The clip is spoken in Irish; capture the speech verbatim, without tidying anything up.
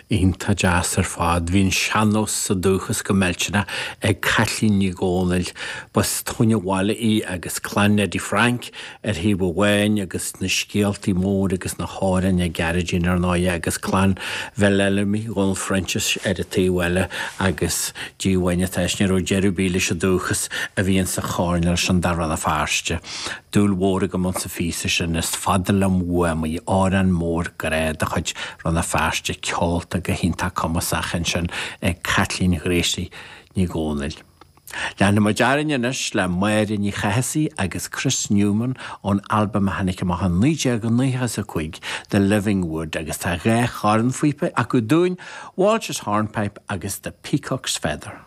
Iontach deas ar fad. Bhí an sean-nós sa dúchas go millteanach ag Caitlín Ní Dhomhnaill. B'as Tóin an Bhaile í agus clann Eddie Frank ar thaobh amháin agus na scéaltaí mór agus na hamhráin ag Gearóidín ar ndóigh agus clann Bheileilmi Dhónal Frenches ar an taobh eile agus Dia amháin atá ní raibh deireadh ar bith leis an dúchas a bhí insa choirnéal sin de Rann na Feirste. Dúil mhór agam sa phíosa sin is fada liom uaim í amhrán mór grá de chuid Rann na Feirste ceolta go hiontach cumasach ansin ag Caitlín Ghracie Ní Dhomhnaill. Leanfaimid orainn anois le Máire Ní Chathasaigh agus Chris Newman ón albam a tháinig amach in naoi déag nócha a cúig The Living Wood agus tá dhá chornphíopa acu dúinn, Walsh's Hornpipe agus The Peacock's Feather.